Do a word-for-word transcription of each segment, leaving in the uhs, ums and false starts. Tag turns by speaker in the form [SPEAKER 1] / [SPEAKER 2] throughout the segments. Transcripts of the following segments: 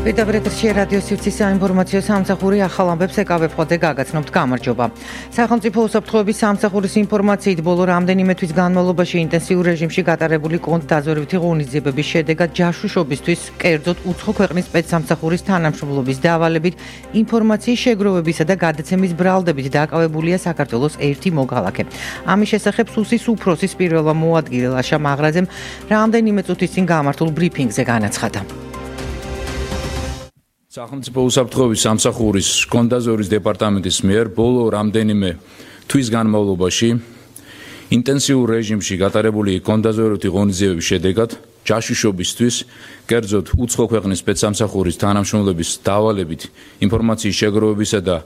[SPEAKER 1] პირდაპირ რადიო სივრცის საინფორმაციო სამსახური ახალ ამბებს ეკავებ ხოთე გაგაცნობთ გამარჯობა. სახელმწიფო უსაფრთხოების სამსახურის ინფორმაციით ბოლო რამდენიმე თვის განმავლობაში ინტენსიურ რეჟიმში გატარებული კონტ დაზვერვითი ღონისძიებების შედეგად ჯაშუშობისთვის კერძოდ უცხო ქვეყნის სპეცსამსახურის თანამშრომლობის დავალებით ინფორმაციის შეგროვებისა და გადაცემის ბრალდებით დაკავებულია საქართველოს ერთი მოქალაქე. ამის შესახებ სუსის უფროსის პირველმა მოადგილე ლაშა მაღრაძემ რამდენიმე წუთის წინ გამართულ ბრიფინგზე განაცხადა.
[SPEAKER 2] სახელმწიფო უსაფრთხოების სამსახურის კონტდაზვერვის დეპარტამენტის მიერ ბოლო რამდენიმე თვის განმავლობაში ინტენსიურ რეჟიმში გატარებული კონტდაზვერვითი ღონისძიებების შედეგად ჯაშუშობისთვის კერძოდ უცხო ქვეყნის სპეცსამსახურის თანამშრომლების დავალებით ინფორმაციის შეგროვებისა და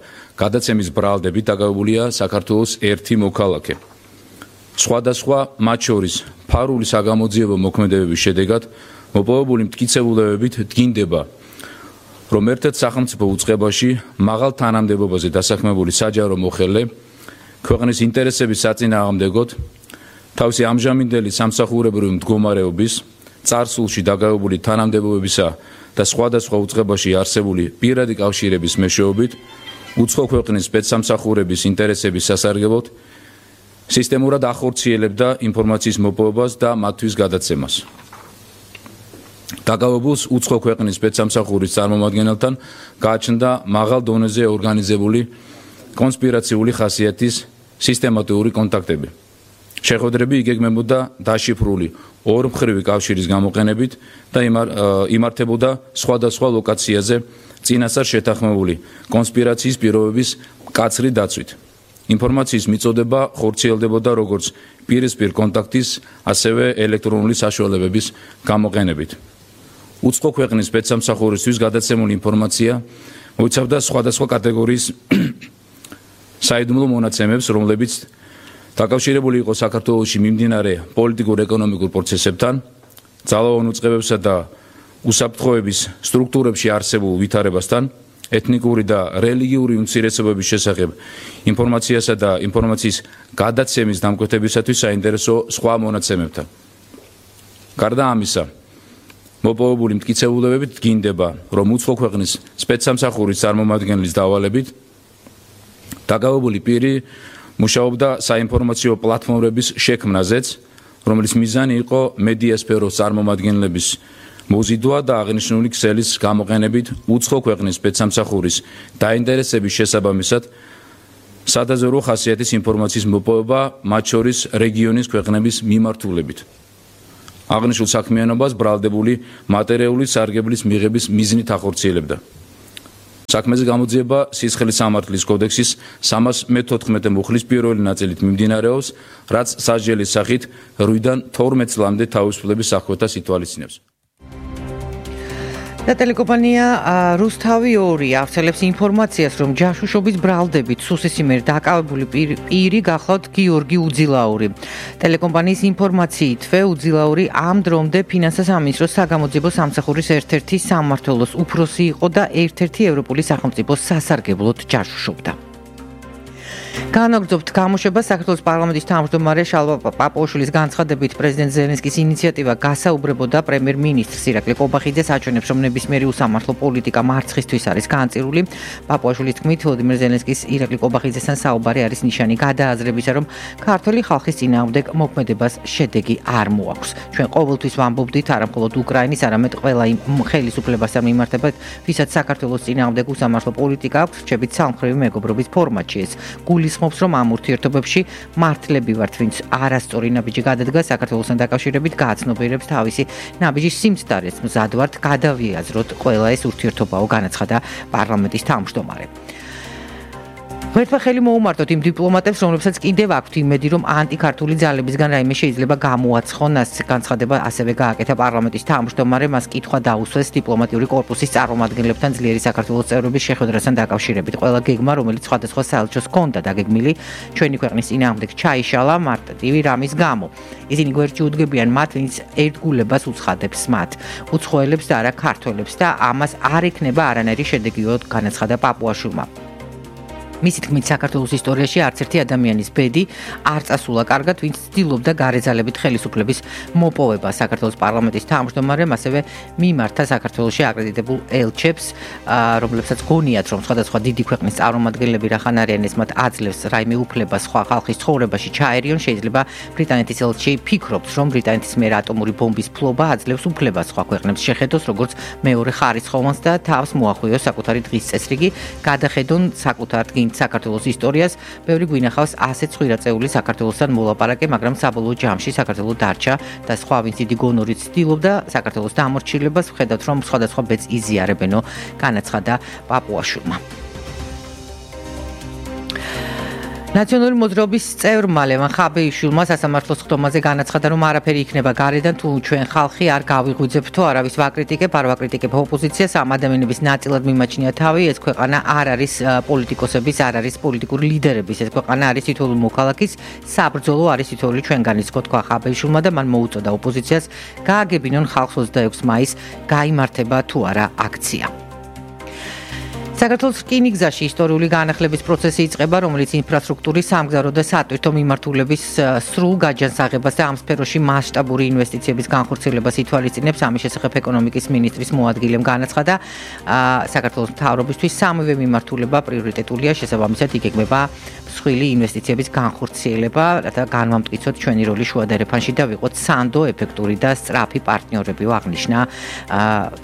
[SPEAKER 2] გადაცემის ბრალდებით დაკავებულია საქართველოს ერთი მოქალაქე. სხვადასხვა მათ შორის ფარული საგამოძიებო მოქმედებების შედეგად მოპოვებული მტკიცებულებებით დგინდება რომ ერთ-ერთ სახელმწიფო უწყებაში მაღალ თანამდებობაზე დასაქმებული საჯარო მოხელე ქვეყნის ინტერესების საწინააღმდეგოდ თავისი ამჟამინდელი სამსახურებრივი მდგომარეობის წარსულში დაკავებული თანამდებობებისა და სხვადასხვა უწყებაში არსებული პირადი კავშირების მეშვეობით უცხო ქვეყნის სპეცსამსახურების ინტერესების სასარგებლოდ სისტემურად ახორციელებდა ინფორმაციის მოპოვებას და მათთვის გადაცემას. დაკავებულს უცხო ქვეყნის სპეცსამსახურის წარმომადგენელთან გააჩნდა მაღალ დონეზე ორგანიზებული კონსპირაციული ხასიათის სისტემატიური კონტაქტები. შეხვედრები იგეგმებოდა დაშიფრული ორმხრივი კავშირის გამოყენებით და იმართებოდა სხვადასხვა ლოკაციაზე წინასწარ შეთანხმებული კონსპირაციის პირობების მკაცრი დაცვით. ინფორმაციის მიწოდება ხორციელდებოდა როგორც პირისპირ კონტაქტის, ასევე ელექტრონული საშუალებების გამოყენებით. უცხო ქვეყნის სპეცსამსახურისთვის გადაცემული ინფორმაცია მოიცავდა სხვადასხვა კატეგორიის საიდუმლო მონაცემებს, რომლებიც დაკავშირებული იყო საქართველოში მიმდინარე პოლიტიკურ-ეკონომიკურ პროცესებთან, ძალოვან უწყებებსა და უსაფრთხოების სტრუქტურებში არსებულ ვითარებასთან, ეთნიკური და რელიგიური უმცირესობების შესახებ ინფორმაციასა და ინფორმაციის გადაცემის დამკვეთებისათვის საინტერესო სხვა მონაცემებთან. გარდა ამისა, მოპოვებული მტკიცებულებებით დგინდება, რომ უცხო ქვეყნის სპეცსამსახურის წარმომადგენლის დავალებით დაკავებული პირი მუშაობდა საინფორმაციო პლატფორმების შექმნაზეც, რომლის მიზანი იყო მედიასფეროს წარმომადგენლების მოზიდვა და აღნიშნული ქსელის გამოყენებით უცხო ქვეყნის სპეცსამსახურის დაინტერესების შესაბამისად სადაზვერვო ხასიათის ინფორმაციის მოპოვება, მათ შორის რეგიონის ქვეყნების მიმართულებით. აღნიშნულ საქმიანობას ბრალდებული მატერიალური სარგებლის მიღების მიზნით ახორციელებდა. საქმეზე გამოძიება სისხლის სამართლის კოდექსის სამას მეთოთხმეტე მუხლის პირველი ნაწილით მიმდინარეობს, რაც სასჯელის სახით რვიდან თორმეტ წლამდე თავისუფლების აღკვეთას ითვალისწინებს.
[SPEAKER 1] და ტელეკომპანია რუსთავი ორი ავრცელებს ინფორმაციას, რომ ჯაშუშობის ბრალდებით სუსის მიერ დაკავებული პირი გახლავთ გიორგი უძილაური. ტელეკომპანიის ინფორმაციითვე უძილაური ამ დრომდე ფინანსთა სამინისტროს საგამოძიებო სამსახურის ერთ-ერთი სამმართველოს უფროსი იყო და ერთ-ერთი ევროპული სახელმწიფოს სასარგებლოდ ჯაშუშობდა. განაგრძობთ გამოშვებას საქართველოს პარლამენტის თავმჯდომარე შალვა პაპუაშვილის განცხადებით პრეზიდენტ ზელენსკის ინიციატივა გასაუბრებოდა პრემიერ-მინისტრს ირაკლი ყობახიძეს აჩვენებს, რომ ნებისმიერი უსამართლო პოლიტიკა მარცხისთვის არის განწირული. პაპუაშვილის თქმით, ვლადიმერ ზელენსკის ირაკლი ყობახიძესთან საუბარი არის ნიშანი გადააზრებისა, რომ ქართველი ხალხის წინააღმდეგ მოქმედებას შედეგი არ მოაქვს. ჩვენ ყოველთვის ვამბობდით არა მხოლოდ უკრაინის, არამედ ყველა იმ ხელისუფლებასთან მიმართებად, ვისაც საქართველოს წინააღმდეგ უსამართლო პოლიტიკა აქვს, რჩებით სამხრივი მეგობრობის ფორმატში ეს გულისხმობს, რომ ამ ურთიერთობებში მართლები ვართ, ვინც არასწორი ნაბიჯი გადადგა საქართველოსთან დაკავშირებით, გააცნობიერებს თავისი ნაბიჯის სიმცდარეს. მზად ვართ გადავიაზროთ ყველა ეს ურთიერთობაო, განაცხადა პარლამენტის თავმჯდომარე. ღმერთმა ხელი მოუმართოთ იმ დიპლომატებს, რომლებსაც კიდევ აქვთ იმედი, რომ ანტიქართული ძალებისგან რაიმე შეიძლება გამოაცხონ. ეს განცხადება ასევე გააკეთა პარლამენტის თავმჯდომარე, მას კითხვა დაუსვეს დიპლომატიური კორპუსის წარმომადგენლებთან ძლიერი საქართველოს წევრების შეხვედრასთან დაკავშირებით. ყველა გეგმა, რომელიც სხვადასხვა საელჩოს ჰქონდა დაგეგმილი, ჩვენი ქვეყნის წინააღმდეგ ჩაიშალა მარტივი რამის გამო. ისინი გვერდში უდგებიან მათ, ვინც ერთგულებას უცხადებს მათ, უცხოელებს და არა ქართველებს და ამას არ ექნება არანაირი შედეგიო, განაცხადა პაპუაშვილმა. მისი თქმით, საქართველოს ისტორიაში არც ერთი ადამიანის ბედი არ წასულა კარგად, ვინც ცდილობდა გარეძალებით ხელისუფლების მოპოვება. საქართველოს პარლამენტის თავმჯდომარემ ასევე მიმართა საქართველოში აკრედიტებულ ელჩებს, რომლებსაც გონიათ, რომ სხვადასხვა დიდი ქვეყნის წარმომადგენლები რახან არიან ეს მათ აძლევს რაიმე უფლება სხვა ხალხის ცხოვრებაში ჩაერიონ. შეიძლება ბრიტანეთის ელჩი ფიქრობს, რომ ბრიტანეთის მიერ ატომური ბომბის ფლობა აძლევს უფლებას სხვა ქვეყნებს შეხედოს როგორც მეორე ხარისხოვანს და თავს მოახვიოს საკუთარი დღის წესრიგი, გადახედონ საკუთარ საქართველოს ისტორიას. ბევრი გვინახავს ასეთ ხვირაწეული საქართველოსთან მოლაპარაკე, მაგრამ საბოლოო ჯამში საქართველო დარჩა და სხვა ვინც დიდი გონორით ცდილობდა საქართველოს დამორჩილებას, ვხედავთ რომ სხვადასხვა ბედს იზიარებენო, განაცხადა პაპუაშვილმა. ნაციონალური მოძრაობის წევრმა ლევან ხაბეიშვილმა სასამართლოს ხდომაზე განაცხადა, რომ არაფერი იქნება გარედან, თუ ჩვენ ხალხი არ გავიღვიძებთ თუ არავის ვაკრიტიკებ, არ ვაკრიტიკებ ოპოზიციას, ამ ადამიანების ნაწილად მიმაჩნია თავი, ეს ქვეყანა არ არის პოლიტიკოსების, არ არის პოლიტიკური ლიდერების, ეს ქვეყანა არის თითოეული მოქალაქის საბრძოლო, არის თითოეული ჩვენგანის, თქვა ხაბეიშვილმა და მან მოუწოდა ოპოზიციას გააგებინონ ხალხს ოცდაექვსი მაისს გაიმართება თუ არა აქცია. საქართველოს რკინიგზაში ისტორიული განახლების პროცესი იწყება, რომელიც ინფრასტრუქტურის, სამგზავრო და სატვირთო მიმართულების სრულ გაჯანსაღებას და ამ სფეროში მასშტაბური ინვესტიციების განხორციელებას ითვალისწინებს. ამის შესახებ ეკონომიკის მინისტრის მოადგილემ განაცხადა, საქართველოს მთავრობისთვის სამივე მიმართულება პრიორიტეტულია, შესაბამისად იგეგმება მსხვილი ინვესტიციების განხორციელება, რათა განვამტკიცოთ ჩვენი როლი შუა დერეფანში და ვიყოთ სანდო, ეფექტური და სწრაფი პარტნიორები, აღნიშნა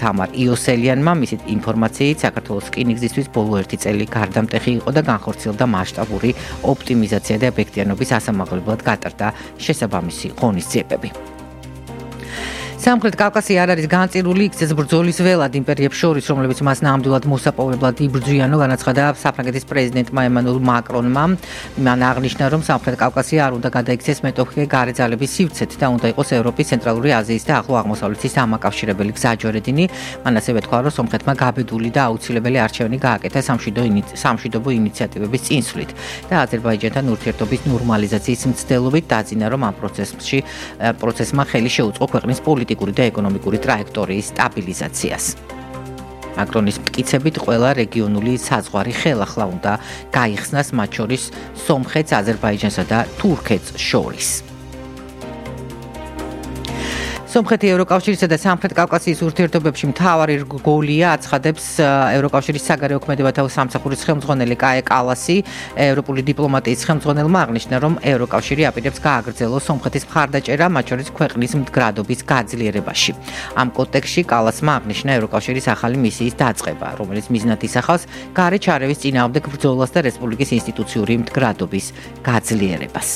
[SPEAKER 1] თამარ იოსელიანმა. მისი ინფორმაციით, საქართველოს რკინიგზისთვის ბოლო ერთი წელი გარდამტეხი იყო და განხორციელდა მასშტაბური ოპტიმიზაცია და ეფექტიანობის ასამაღლებლად გატარდა შესაბამისი ღონისძიებები. სამხრეთ კავკასია არ არის განწირული, იქცეს ბრძოლის ველად იმპერიებს შორის, რომლებიც მას ნამდვილად მოსაპოვებლად იბრძვიანო, განაცხადა საფრანგეთის პრეზიდენტმა ემანუელ მაკრონმა. მან აღნიშნა, რომ სამხრეთ კავკასია არ უნდა გადაიქცეს მეტოქე გარეძალების სივრცეთ და უნდა იყოს ევროპის, ცენტრალური აზიის და ახლო აღმოსავლეთის დამაკავშირებელი გზაჯვარედინი. მან ასევე თქვა, რომ სომხეთმა გაბედული და აუცილებელი არჩევანი გააკეთა სამშვიდობო ინიციატივების წინსვლით და აზერბაიჯანთან ურთიერთობის ნორმალიზაციის მცდელობით დაძინა, რომ ამ პროცესში პროცესმა ხელი შეუწყო ქვეყნის პოლიტიკურ და ეკონომიკური ტრაექტორიის სტაბილიზაციას. მაკრონის მტკიცებით ყველა რეგიონული საზღვარი ხელახლა უნდა გაიხსნას, მათ შორის სომხეთს, აზერბაიჯანსა და თურქეთს შორის. სომხეთი ევროკავშირისა და სამხრეთ კავკასიის ურთიერთობებში მთავარი რგოლია, აცხადებს ევროკავშირის საგარეო ქმედებათა სამსახურის ხელმძღვანელი კაე კალასი. ევროპული დიპლომატიის ხელმძღვანელმა აღნიშნა, რომ ევროკავშირი აპირებს გააგრძელოს სომხეთის მხარდაჭერა, მათ შორის ქვეყნის მდგრადობის გაძლიერებაში. ამ კონტექსტში კალასმა აღნიშნა ევროკავშირის ახალი მისიის დაწყება, რომელიც მიზნად ისახავს გარე ჩარევის წინააღმდეგ ბრძოლას და რესპუბლიკის ინსტიტუციური მდგრადობის გაძლიერებას.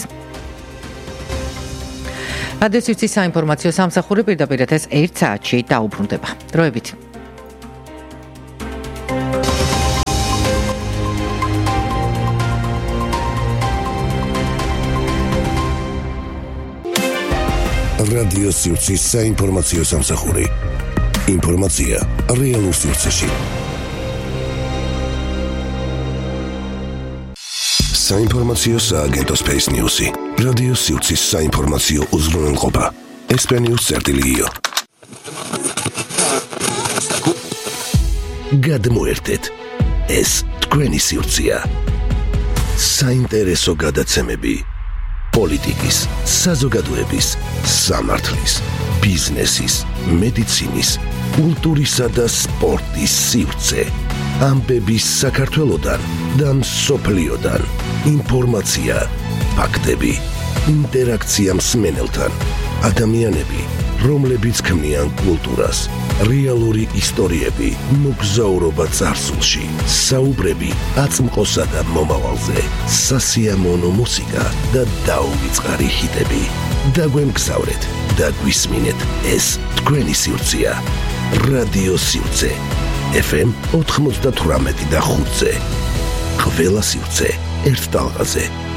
[SPEAKER 1] რადიო სივრცის საინფორმაციო სამსახური პირდაპირ ეთერს ერთ საათში დაუბრუნდება. დროებით.
[SPEAKER 3] რადიო სივრცის საინფორმაციო სამსახური. ინფორმაცია რეალურ სივრცეში. საინფორმაციო სააგენტო Space News-ი. რადიო სივრცის საინფორმაციო უზრუნველყოფა. ესპანიურ წერტილიო. გადმოერთეთ. ეს თქვენი სივრცეა. საინტერესო გადაცემები. პოლიტიკის, საზოგადოების, სამართლის, ბიზნესის, მედიცინის, კულტურისა და სპორტის სივრცე. ამბები საქართველოდან და მსოფლიოდან. ინფორმაცია, ფაქტები, ინტერაქცია მსმენელთან. ადამიანები, რომლებიც ქმნიან კულტურას, რეალური ისტორიები, მოგზაურობა წარსულში, საუბრები აწმყოსა და მომავალზე, სასიამოვნო მუსიკა და დაუვიწყარი ჰიტები. დაგვემგზავრეთ და გვისმინეთ, ეს თქვენი სივრცეა. რადიო სივრცე. ეფ ემ ოთხმოცდათვრამეტი და ხუთზე. ყველა სივრცე ერთ ტალღაზე.